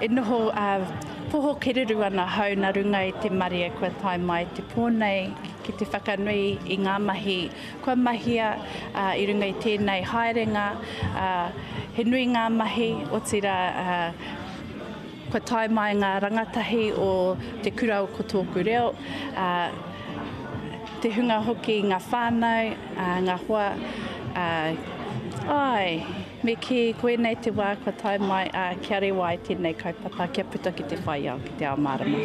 E noho poho kererū ana hau nā runga i te marea kua tae mai te pō nei ki te whakanui i ngā mahi kua mahia i runga i tēnei haerenga. He nui ngā mahi, otirā kua tae mai ngā rangatahi o Te Kura o Ko Tōku Reo, te hunga hoki, ngā whānau, ngā hoa, āe. Me kī, koinei te wā kua tae mai, ā, kia rewa ai tēnei kaupapa, kia puta ki te whai ao, ki te ao mārama.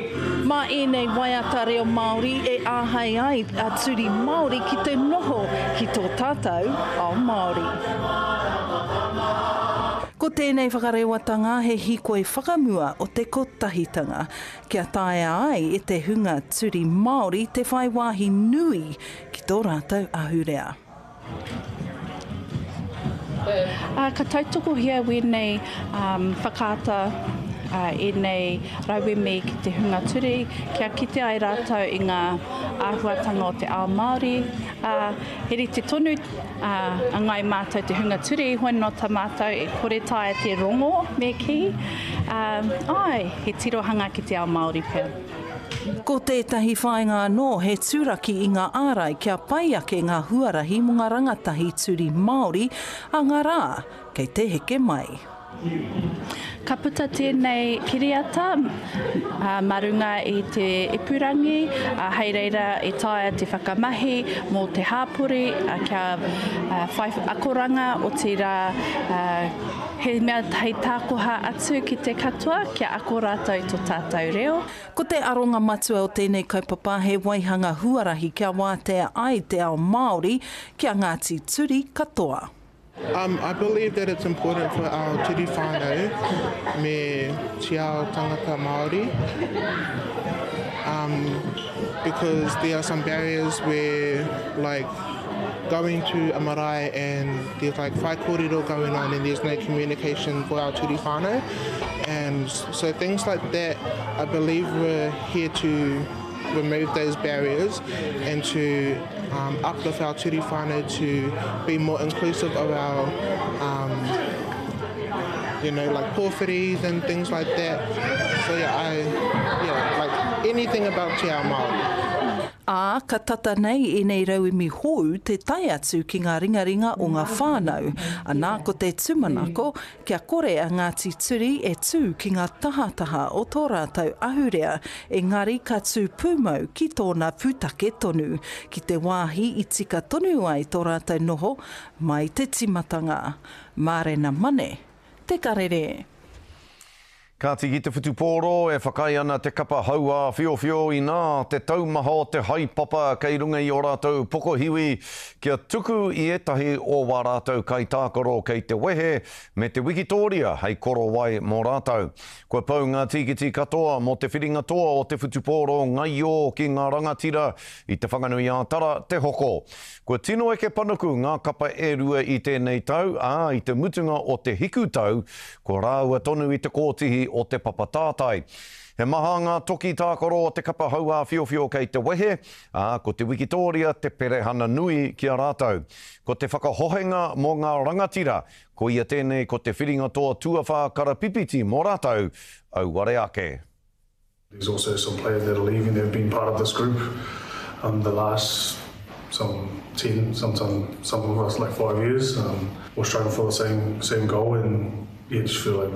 Mā ēnei waiata reo Māori e āhei ai a Turi Māori ki te noho ki tō tātou ao Māori. Ko tēnei whakarewatanga he hīkoi whakamua o te kotahitanga, kia taea ai e te hunga Turi Māori te whai wāhi nui ki tō rātou ahurea. Ā, ka tautokohia wēnei whakaata, ēnei rauemi ki te hunga turi, kia kite ai rātou i ngā āhuatanga o te ao Māori. Ā, he rite tonu a Ngāi Mātou te hunga turi, hoi nō tā mātou e kore taea te rongo, me kī. Ā, āe, he tirohanga ki te ao Māori pea. Ko tētahi whāinga anō he turaki i ngā ārai kia pai ake ngā huarahi mō ngā rangatahi turi Māori a ngā rā kei te heke mai. Ka puta tēnei kiriata mā runga i te ipurangi, hei reira e taea te whakamahi mō te hāpori kia whai akoranga, otirā he mea hei tākoha atu ki te katoa kia ako rātou i tō tātou reo. Ko te aronga matua o tēnei kaupapa he waihanga huarahi kia wātea ai te ao Māori ki a Ngāti Turi katoa. Um, I believe that it's important for our turi whānau me te ao tangata Māori um, because there are some barriers where like going to a marae and there's like whaikōrero going on and there's no communication for our turi whānau and so things like that I believe we're here to remove those barriers and to um, uplift our turi whānau to be more inclusive of our um, you know like pōwhiris and things like that so yeah I yeah like anything about te ao Māori. Ā, ka tata nei ēnei rauemi hou te tae atu ki ngā ringaringa o ngā whānau, anā ko te tūmanako kia kore a Ngāti Turi e tū ki ngā tahataha o tō rātou ahurea, engari ka tū pūmau ki tōna pūtake tonu, ki te wāhi i tika tonu ai tō rātou noho mai te tīmatanga. Mārena Mane, Te Karere. Kāti ki te whutupōro, e whakaae ana te kapa hauāwhiowhio inā te taumaha o te haepapa kei runga i ō rātou pokohiwi kia tuku i ētahi o wā rātou kaitākaro kei te wehe me te wikitōria hei korowai mō rātou. Kua pau ngā tīkiti katoa mō te whiringa toa o te whutupōro ngaio ki ngā rangatira i Te Whanganui-ā-Tara te hoko. Kua tino eke panuku ngā kapa e rua i tēnei tau, ā, i te mutunga o te hiku tau, ko rāua tonu i te kōtihi o te papa tātai. He maha ngā toki tākaro o te kapa hauāwhiowhio kei te wehe, ā, ko te wikitōria te perehana nui ki a rātou. Ko te whakahohenga mō ngā rangatira, koia tēnei ko te whiringa toa tuawhā karapipiti mō rātou, auare ake. There's also some players that are leaving that have been part of this group um, the last some 10, sometimes some of us like five years. Um, we're striving for the same same goal and yeah, just feel like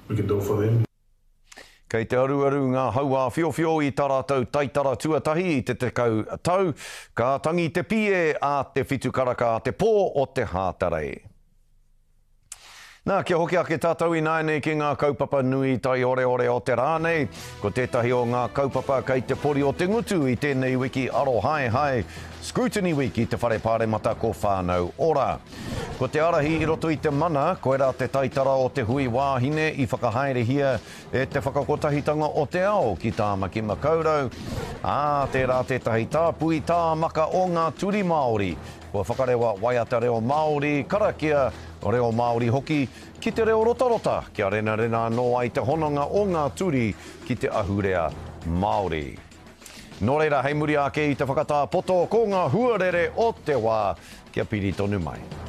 we can do it for them. Kei te aruaru ngā hauāwhiowhio i tā rātou taitara tuatahi i te 10 tau, ka tangi te pie a te whitu karaka a te pō o te Hātarei. Nā, kia hoki ake tātou ināianei ki ngā kaupapa nui taioreore o te rā nei. Ko tētahi o ngā kaupapa kei te pori o te ngutu i tēnei wiki arohaehae, Scrutiny Week i te Whare Pāremata ko Whānau Ora. Ko te ārahi i roto i te mana, koirā te taitara o te hui wāhine i whakahaerehia e te Whakakotahitanga o te Ao ki Tāmaki Makaurau, ā, tērā tētahi tāpui tāmaka o ngā turi Māori Kua whakarewa waiata reo Māori, karakia reo Māori hoki, ki te reo rotarota, kia renarena anō ai te hononga o ngā turi ki te ahurea Māori. Nō reira, hei muri ake i te whakatā poto, ko ngā huarere o te wā, kia piri tonu mai.